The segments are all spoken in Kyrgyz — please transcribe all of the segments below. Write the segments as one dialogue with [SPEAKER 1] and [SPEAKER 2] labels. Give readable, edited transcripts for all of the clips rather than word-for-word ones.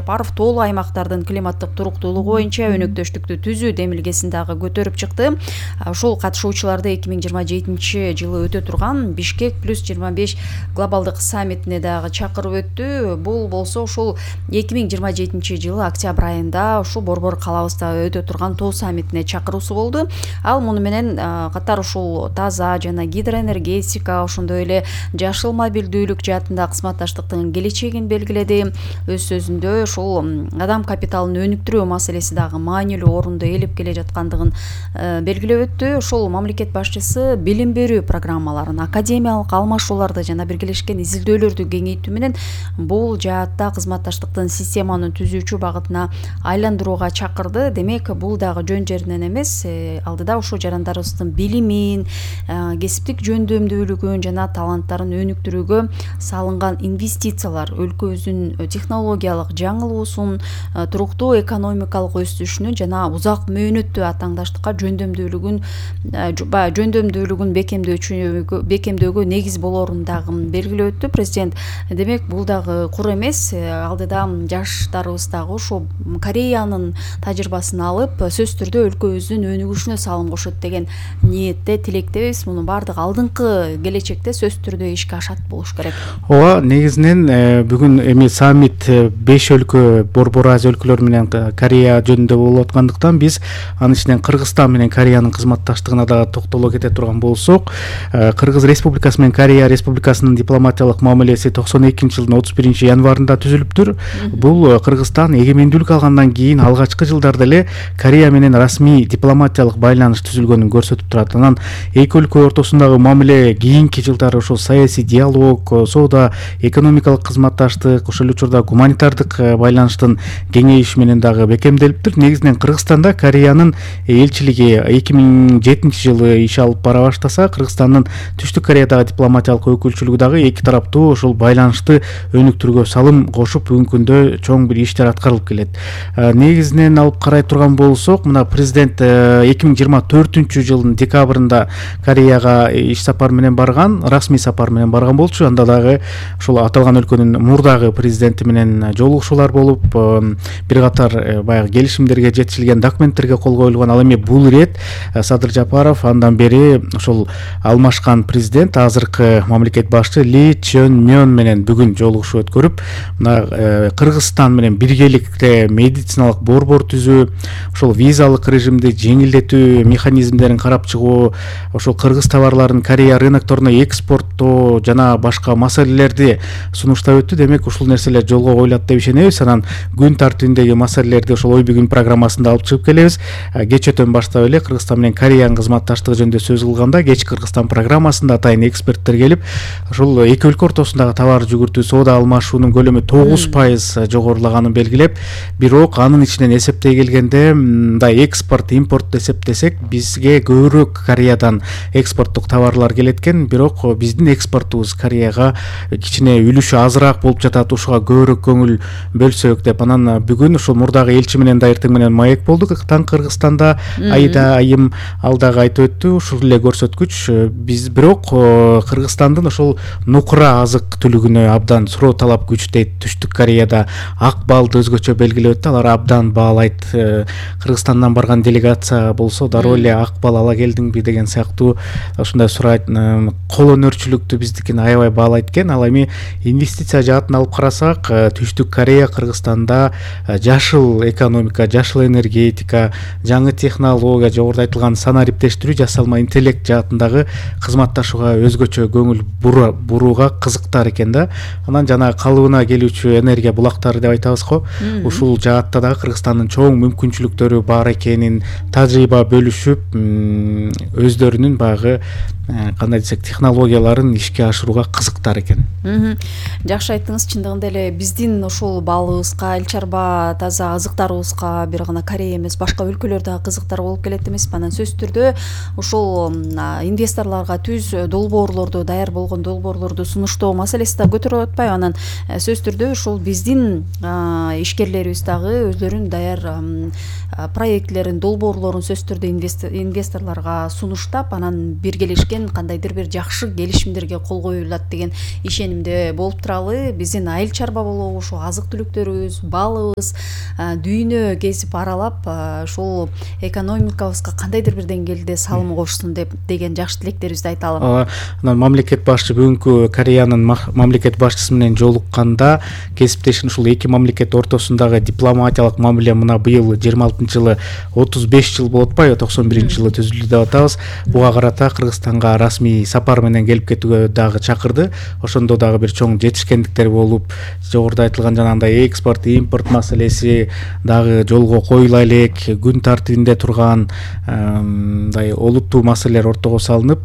[SPEAKER 1] Сапаров тоолуу аймактардын климаттык туруктуулугу боюнча өнөктөштүктү түзүү демилгесин дагы көтөрүп чыкты. Ошол катышуучуларды 2027 жылы өтө турган Бишкек +25 глобалдык саммитине дагы чакырып өттү. Бул болсо ушул 2027 жылы октябрь айында ушул Борбор калабызда өтө турган тоо саммитине чакыруусу болду. Ал муну менен катар ушул таза жана гидроэнергетика, ошондой эле жашыл мобилдүүлүк жаатында кызматташтыктын келечегин белгиледи. Өз сөзүндө ушул адам капиталын өнүктүрүү маселеси дагы маанилүү орунду ээлеп келе жаткандыгын белгилеп өттү. Ошол мамлекет башчысы билим берүү программаларын, академиялык алмашууларды жана биргелешкен изилдөөлөрдү кеңейтүү менен бул жаатта кызматташтыктын системаны түзүүчү багытына айландырууга чакырды. Демек, бул дагы жөн жеринен эмес, алдыда ушул жарандарыбыздын билимин, кесиптик жөндөмдүүлүгүн жана таланттарын өнүктүрүүгө салынган инвестициялар өлкөбүздүн технологиялык жаңылуусун, туруктуу экономикалык өсүшүнүн жана узак мөөнөттүү атааңдаштыкка жөндөмдүүлүгүн бекемдөөгө негиз болорун дагы белгилеп өттү президент. Демек, бул дагы кур эмес, алдыда жаштарыбыз дагы ошо Кореянын тажрыйбасын алып, сөзсүз түрдө өлкөбүздүн өнүгүшүнө салым кошот деген ниетте, тилектебиз. Мунун баардыгы алдыңкы келечекте сөзсүз түрдө ишке ашат болуш керек.
[SPEAKER 2] Ооба, негизинен бүгүн эми саммит 5 өлкө, Борбор Азия өлкөлөрү менен Корея жөнүндө болуп аткандыктан биз анын ичинен Кыргызстан менен Кореянын кызматташтыгына дагы токтоло кете турган болсок, Кыргыз Республикасы менен Корея Республикасынын дипломатиялык мамилеси 92 жылдын 31 январында түзүлүптүр. Бул Кыргызстан эгемендүүлүк алгандан кийин алгачкы жылдарда эле Корея менен расмий дипломатиялык байланыш түзүлгөнүн көрсөтүп турат. Анан эки өлкө ортосундагы мамиле кийинки жылдары ошол саясий диалог, соода, экономикалык кызматташтык, ошол учурда гуманитардык байланыштын кеңейиши менен дагы бекемделиптир. Негизинен Кыргызстанда Кореянын элчилиги 2007 жылы иш алып бара баштаса, Кыргызстандын Түштүк Кореядагы дипломатиялык өкүлчүлүгү дагы эки тараптуу ошол байланышты өнүктүрүүгө салым кошуп, бүгүнкү күндө чоң бир иштер аткарылып келет. Негизинен алып карай турган болсок, мына президент 2024 жылдын декабрында Кореяга иш сапар менен барган, расмий сапар менен барган болчу. Анда дагы ошол аталган өлкөнүн мурдагы президенти менен жолугушуулар болуп, бир катар баягы келишимдерге жетишилген, документтерге кол коюлган. Ал эми бул ирет Садыр Жапаров андан бери ошол алмашкан президент, азыркы мамлекет башчы Ли Чон Мён менен бүгүн жолугушуу өткөрүп, мына Кыргызстан менен биргеликте медициналык борбор түзүү, ошол визалык режимди жеңилдетүү механизмдерин карап чыгуу, ошол кыргыз товарларын Корея рынокторуна экспорттоо жана башка маселелерди сунуштап өттү. Демек, ушул нерселер жолго коюлат деп ишенебиз. Анан күн тартибиндеги маселелерди ошол ой бүгүн программасында алып чыгып келебиз. Кечөтөн баштап эле Кыргызстан менен Кореянын кызматташтыгы жөнүндө сөз кылганда, кеч Кыргызстан программасында атайын эксперттер келип, ошол эки өлкө ортосундагы товар жүгүртүү, соода алмашуунун көлөмү 9% жогорулаганын белгилеп, бирок анын ичинен эсептей келгенде, мындай экспорт, импорт эсептесек, бизге көбүрөөк Кореядан экспорттук товарлар келет экен, бирок биздин экспортубуз Кореяга кичине үлүшү азыраак болуп жатат, ушуга көбүрөөк көңүл бөлсөк деп. Анан бүгүн ушул мурдагы элчи менен да эртең менен маек болдук Кыргызстанда. Айда айым ал дагы айтып өттү, ушул эле көрсөткүч. Биз бирок Кыргызстандын ошол нукура азык түлүгүнө абдан суроо талап күчтөйт. Түштүк Кореяда ак балды өзгөчө белгилеп өттү, алар абдан баалайт. Кыргызстандан барган делегация болсо дароо эле ак бал ала келдиңби деген сыяктуу ушундай сурайт. Кол өнөрчүлүктү биздикин аябай баалайт экен. Ал эми инвестиция жаатын алып карасак, Түштүк Корея Кыргызстанда жашыл экономика, жашыл энергетика, жаңы технология, жогоруда айтылган санариптештирүү, жасалма интеллект жаатындагы кызматташууга өзгөчө көңүл бурууга кызыктар экен да. Анан жана калыбына келүүчү энергия булактары деп айтабыз го. Ушул жаатта дагы Кыргызстандын чоң мүмкүнчүлүктөрү бар экенин, тажрыйба бөлүшүп, өздөрүнүн баягы кандай десек технологияларын ишке ашырууга кызыктар экен.
[SPEAKER 1] Жакшы айттыңыз. Чындыгында эле биздин ушул балыбызга, эл чарба таза азыктарыбызга бир гана Корея эмес, башка өлкөлөр дагы кызыктар болуп келет эмеспи? Анан сөзсүз түрдө ушул инвесторлорго түз долбоорлорду, даяр болгон долбоорлорду сунуштоо маселеси да көтөрүлүп атпайбы? Анан сөзсүз түрдө ушул биздин ишкерлерибиз дагы өздөрүнүн даяр проектлерин, долбоорлорун сөзсүз түрдө инвесторлорго сунуштап, анан биргелешкен кандайдыр бир жакшы келишимдерге кол коюлат деген ишенимде болуп туралы. Биздин айыл чарба болобу, ушу азык түлүктү өнөктөрүбүз, балыбыз дүйнө кезип аралап ушул экономикабызга кандайдыр бир деңгээлде салым кошсун деген жакшы тилектерибизди айталы.
[SPEAKER 2] Анан мамлекет башчы бүгүнкү Кореянын мамлекет башчысы менен жолукканда кесиптешин ушул эки мамлекет ортосундагы дипломатиялык мамиле мына быйыл 26-жылы 35 жыл болуп атпайбы, 91-жылы түзүлдү деп атабыз. Буга карата Кыргызстанга расмий сапар менен келип кетүүгө дагы чакырды. Ошондо дагы бир чоң жетишкендиктер болуп, жогоруда айтылган жанагындай экспорт, импорт маселеси дагы жолго коюла элек, күн тартибинде турган мындай олуттуу маселелер ортого салынып,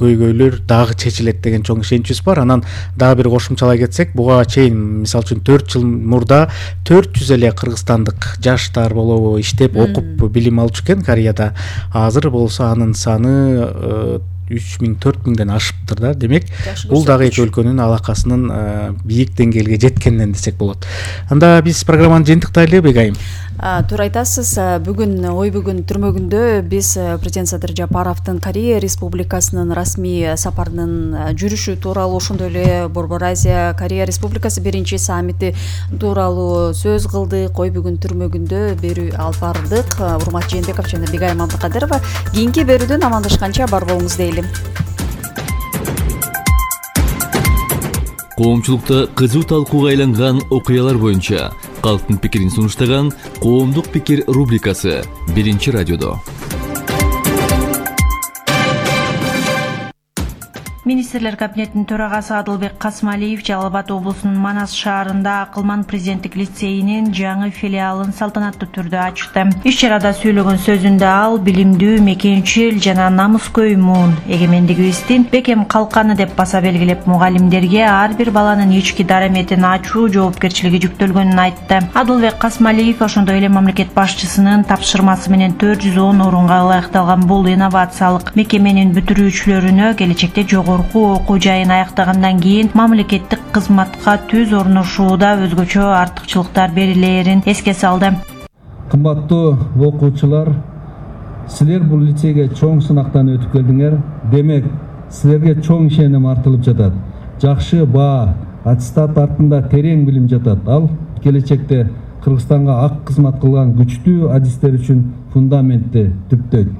[SPEAKER 2] көйгөйлөр дагы чечилет деген чоң ишеничибиз бар. Анан дагы бир кошумчалай кетсек, буга чейин мисалы үчүн 4 жыл мурда 400 эле кыргызстандык жаштар болобу иштеп, окуп, билим алчу экен Кореяда. Азыр болсо анын саны 3000-4000ден ашыптыр да. Демек, бул дагы эки өлкөнүн алакасынын бийик деңгээлге жеткенинен десек болот. Анда биз программаны жыйынтыктайлы, Бегайым.
[SPEAKER 1] Туура айтасыз. Бүгүн ой бүгүн түрмөгүндө биз президент Садыр Жапаровдун Корея Республикасынын расмий сапарынын жүрүшү тууралуу, ошондой эле Борбор Азия Корея Республикасы биринчи саммити тууралуу сөз кылдык. Ой бүгүн түрмөгүндө берүү алып бардык. Урмат Жээнбеков жана Бегайым Абдыкадырова. Кийинки берүүдөн амандашканча бар болуңуз дейли.
[SPEAKER 3] Коомчулукта кызуу талкууга айланган окуялар боюнча калктын пикирин сунуштаган Коомдук пикир рубрикасы биринчи радиодо.
[SPEAKER 4] Министрлер кабинетинин төрагасы Адылбек Касмалиев Жалал Абад облусунун Манас шаарында Акылман президенттик лицейинин жаңы филиалын салтанаттуу түрдө ачты. Иш чарада сүйлөгөн сөзүндө ал билимдүү, мекенчил жана намыскөй муун эгемендигибиздин бекем калканы деп баса белгилеп, мугалимдерге ар бир баланын ички дараметин ачуу жоопкерчилиги жүктөлгөнүн айтты. Адылбек Касмалиев ошондой эле мамлекет башчысынын тапшырмасы менен 410 орунга ылайыкталган бул инновациялык мекеменин бүтүрүүчүлөрүнө келечекте жогорку окуу жайын аяктагандан кийин мамлекеттик кызматка түз орношууда өзгөчө артыкчылыктар берилээрин эске салды.
[SPEAKER 5] Кымбаттуу окуучулар, силер бул лицейге чоң сынактан өтүп келдиңер. Демек, силерге чоң ишеним артылып жатат. Жакшы баа, аттестат артында терең билим жатат. Ал келечекте Кыргызстанга ак кызмат кылган күчтүү адистер үчүн фундаментти түптөйт.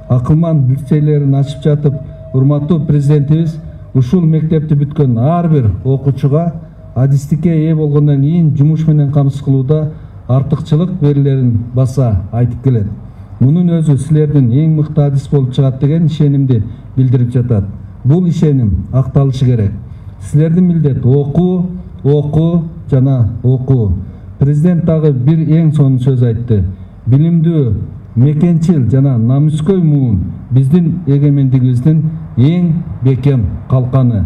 [SPEAKER 5] Акылман лицейлерин ачып жатып, урматтуу президентибиз ушул мектепти бүткөн ар бир окуучуга адистикке ээ болгондон кийин жумуш менен камсыз кылууда артыкчылык берилерин баса айтып келет. Мунун өзү силердин эң мыкты адис болуп чыгат деген ишенимди билдирип жатат. Бул ишеним акталышы керек. Силердин милдет окуу жана окуу. Президент дагы бир эң сонун сөз айтты. Билимдүү, мекенчил жана намыскөй муун биздин эгемендигибиздин эң бекем калканы.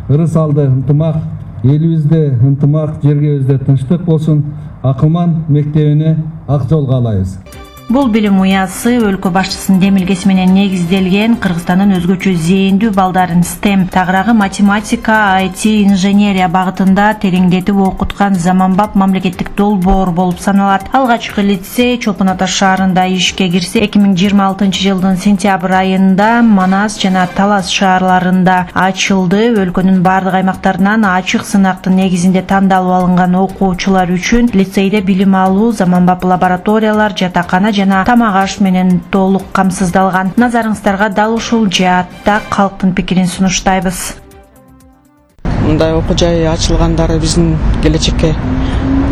[SPEAKER 5] Ырыс алды ынтымак, элибизде ынтымак, жергебизде тынчтык болсун. Акылман мектебине ак жол каалайбыз.
[SPEAKER 4] Бул билим уясы өлкө башчысынын демилгеси менен негизделген Кыргызстандын өзгөчө зээндүү балдарын STEM, тагыраагы математика, IT, инженерия багытында тереңдетип окуткан заманбап мамлекеттик долбоор болуп саналат. Алгачкы лицей Чолпон Ата шаарында ишке кирсе, 2026-жылдын сентябрь айында Манас жана Талас шаарларында ачылды. Өлкөнүн бардык аймактарынан ачык сынактын негизинде тандалып алынган окуучулар үчүн лицейде билим алуу, заманбап лабораториялар, жатакана жана тамак аш менен толук камсыздалган. Назарыңыздарга дал ушул жаатта калктын пикирин сунуштайбыз.
[SPEAKER 6] Мындай окуу жай ачылгандары биздин келечекке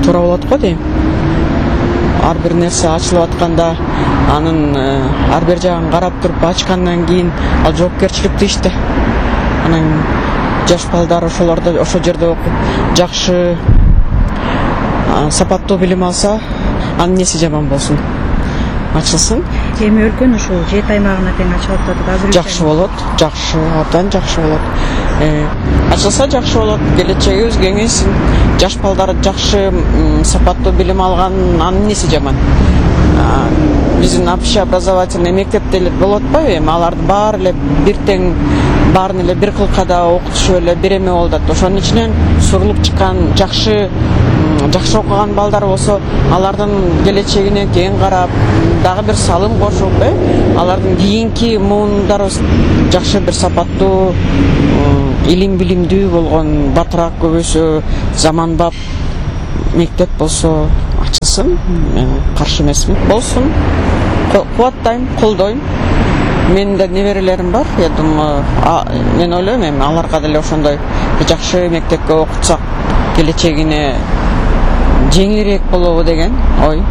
[SPEAKER 6] туура болот го дейм. Ар бир нерсе ачылып атканда анын ар бир жагын карап туруп ачкандан кийин ал жоопкерчиликтүү иште. Анан жаш балдар ошол жерде окуп жакшы сапаттуу билим алса, анын эмнеси жаман болсун? Ачылсын.
[SPEAKER 4] Эми өлкөнүн ушул 7 аймагына тең ачылып атат. Азыр
[SPEAKER 6] жакшы болот, жакшы, абдан жакшы болот. Ачылса жакшы болот, келечегибиз кеңейсин. Жаш балдар жакшы сапаттуу билим алган, анын эмнеси жаман? Биздин общеобразовательный мектепте эле болот атпайбы? Эми аларды баары эле бир тең, баарын эле бир кылкада окутушуп эле бир эме болуп атат. Ошонун ичинен сурулуп чыккан жакшы окуган балдар болсо, алардын келечегине кең карап, дагы бир салым кошуп, алардын кийинки муундарыбыз жакшы бир мектеп болсо ачылсын, мен каршы эмесмин. Болсун, кубаттайм, колдойм. Менин да неберелерим бар. Я думаю, мен ойлойм, эми аларга деле ошондой жакшы мектепке окутсак келечегине жеңилирээк болобу деген ой.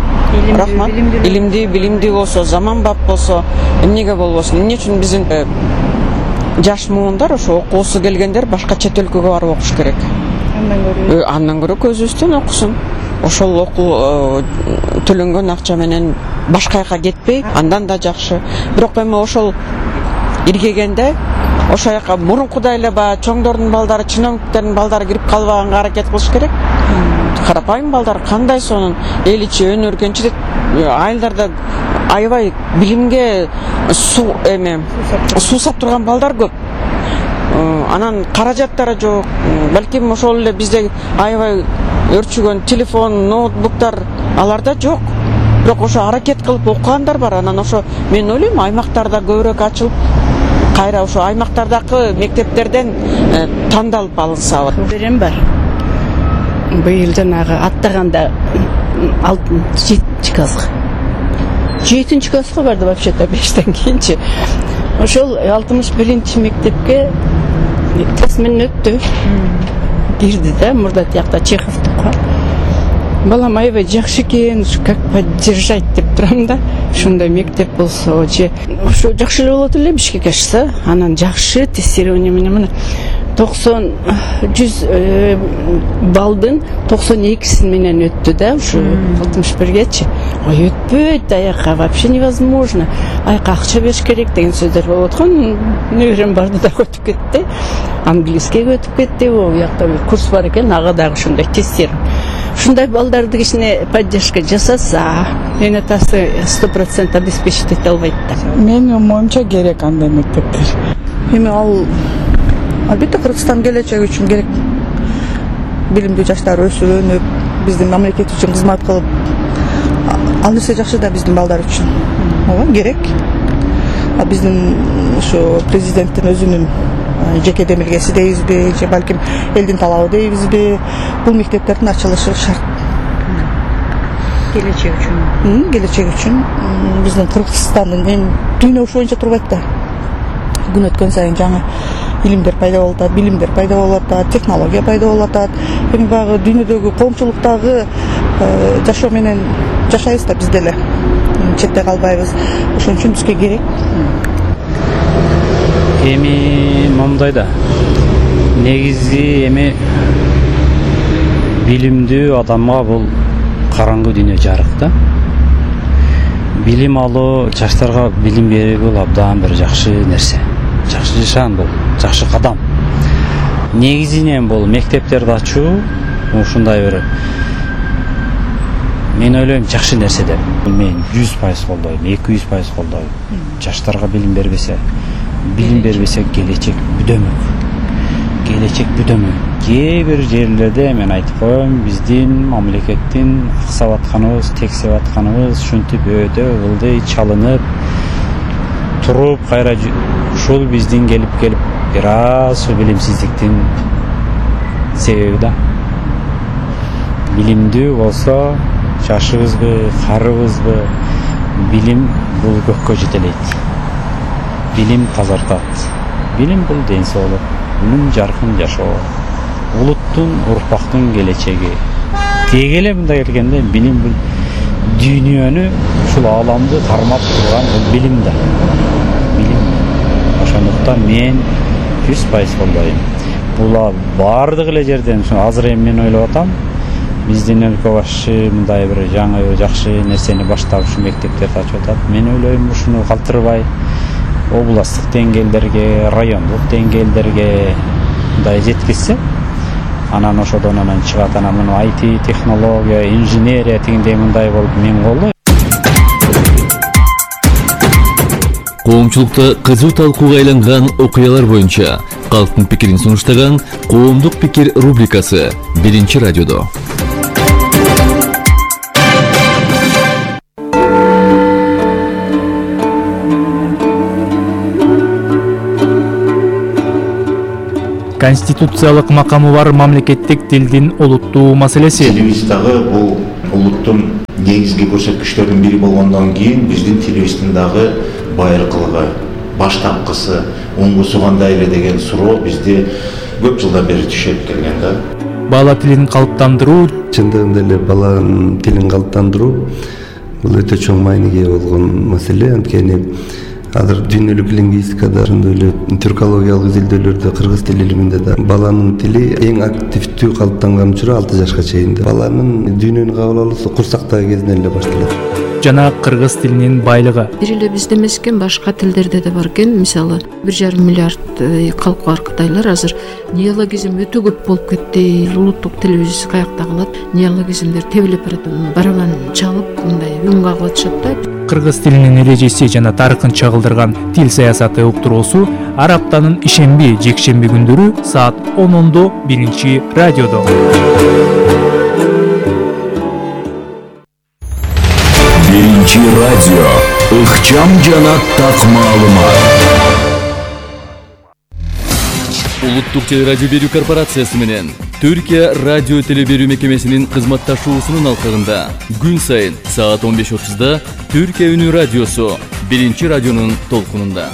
[SPEAKER 6] Рахмат. Билимдүү болсо, заманбап болсо, эмнеге болбосун? Эмне үчүн биздин жаш муундар, ошо окуусу келгендер башка чет өлкөгө барып окуш керек. Андан көрө көзүбүздөн окусун. Ошол окуу төлөнгөн акча менен башка жака кетпей, андан да жакшы. Бирок эми ошол иргегенде ошол жака мурункудай эле баягы чоңдордун балдары, чиновниктердин балдары кирип калбаганга аракет кылыш керек. Карапайым балдар кандай сонун эл ичи өнөргөнчү деп айылдарда аябай билимге суу сап турган балдар көп. Анан каражаттары жок. Балким ошол эле бизде аябай өрчүгөн телефон, ноутбуктар аларда жок. Бирок ошо аракет кылып окугандар бар. Анан ошо мен ойлойм, аймактарда көбүрөөк ачылып, кайра ошо аймактардагы мектептерден тандалып алынса.
[SPEAKER 7] Берем бар. Быйыл жанагы аттаганда 7 класска. 7 класска барды вообще-то 5тен кийинчи. Ошол 61-чи мектепке тест менен өттү. Кирди да, мурда тиякта Чеховдук бар. Балам аябай жакшы экен, как поддержать деп турам да. Ушундай мектеп болсо же ошо жакшы эле болот эле Бишкекке ашса, анан жакшы тестирование менен мына 100 балдын 92син менен өттү да, ушу 61гечи. Ой, өтпөйт аяка, вообще невозможно. Аяка акча бериш керек деген сөздөр болуп аткан. Неберем барды да өтүп кетти. Английскийге өтүп кетти. О, якта бир курс бар экен, ага дагы ушундай тестирование. Ушундай балдарды кичине поддержка жасаса, мен атасы 100% обеспечить эте албайт да.
[SPEAKER 8] Менин оюмча керек андай мектептер.
[SPEAKER 9] Эми ал албетте Кыргызстан келечеги үчүн керек. Билимдүү жаштар өсүп, өнүп, биздин мамлекет үчүн кызмат кылып, ал нерсе жакшы да биздин балдар үчүн. Ооба керек. А биздин ушу президенттин өзүнүн жеке демилгеси дейбизби, же балким элдин талабы дейбизби, бул мектептердин ачылышы шарт.
[SPEAKER 7] Келечек үчүн.
[SPEAKER 9] Келечек үчүн биздин Кыргызстандын эми дүйнө ошо боюнча турбайт да. Күн өткөн сайын жаңы илимдер пайда болуп атат, билимдер пайда болуп атат, технология пайда болуп атат. Эми баягы дүйнөдөгү коомчулуктагы жашоо менен жашайбыз да биз деле. Четте калбайбыз. Ошон үчүн бизге керек.
[SPEAKER 10] Эми момундай да. Негизи эми билимдүү адамга бул караңгы дүйнө жарык да. Билим алуу, жаштарга билим берүү бул абдан бир жакшы нерсе. Жакшы нишан бул, жакшы кадам. Негизинен бул мектептерди ачуу ушундай бир мен ойлойм жакшы нерсе деп. Мен 100% колдойм, 200% колдойм. Жаштарга билим бербесе келечек бүдөмөк. Келечек бүдөмөк. Кээ бир жерлерде мен айтып коем, биздин мамлекеттин аксап атканыбыз, тексеп атканыбыз ушинтип өтө ылдый чалынып туруп, кайра ушул биздин келип бир аз билимсиздиктин себеби да. Билимдүү болсо, жашыбызбы, карыбызбы, билим бул көккө жетелейт. Билим тазартат. Билим бул ден соолук, үнүн жаркын жашоо, улуттун, урпактын келечеги. Теги эле мындай келгенде билим бул дүйнөнү, ушул ааламды кармап турган бул билим да. Билим. Ошондуктан мен 100% колдойм. Була бардык эле жерден азыр эми мен ойлоп атам. Биздин өлкө башчы мындай бир жаңы жакшы нерсени баштап ушу мектептерди ачып атат. Мен ойлойм ушуну калтырбай областтык деңгээлдерге, райондук деңгээлдерге мындай жеткизсе, анан ошодон анан чыгат анан муну IT, технология, инженерия тигиндей мындай болуп мен колдойм.
[SPEAKER 3] Коомчулукта кызуу талкууга айланган окуялар боюнча калктын пикирин сунуштаган Коомдук пикир рубрикасы 1-радиодо.
[SPEAKER 2] конституциялык макамы бар мамлекеттик тилдин олуттуу маселеси.
[SPEAKER 11] Тилибиз дагы бул улуттун негизги көрсөткүчтөрүнүн бири болгондон кийин биздин тилибиздин дагы байыркылыгы, баштапкысы, оңгусу кандай эле деген суроо бизде көп жылдан бери түшүп келген да.
[SPEAKER 2] Бала тилин калыптандыруу,
[SPEAKER 12] чындыгында эле баланын тилин калыптандыруу бул өтө чоң мааниге болгон маселе. Анткени азыр дүйнөлүк лингвистикада, ошондой эле тюркологиялык изилдөөлөрдө, кыргыз тил илиминде да баланын тили эң активдүү калыптанган учуру 6 жашка чейин. Баланын дүйнөнү кабыл алуусу курсактагы кезинен эле башталат.
[SPEAKER 2] Жана кыргыз тилинин байлыгы.
[SPEAKER 13] Бир эле бизде эмес экен, башка тилдерде да бар экен. Мисалы 1,5 миллиард калкы бар кытайлар азыр неологизм өтө көп болуп кетти. Улуттук тилибиз каякта калат? Неологизмдер тебилип барат, барабан чалып, мындай үн кагып атышат да.
[SPEAKER 2] Кыргыз тилинин эрежеси жана тарыхын чагылдырган тил саясаты уктуруусу ар аптанын ишемби, жекшемби күндөрү саат 10:00 биринчи радиодо.
[SPEAKER 14] Биринчи радио ыкчам жана так маалымат.
[SPEAKER 3] Улуттук телерадио берүү корпорациясы менен Түркия радио теле берүү мекемесинин кызматташуусунун алкагында күн сайын саат 15:30 Түркия үнү радиосу биринчи радионун толкунунда.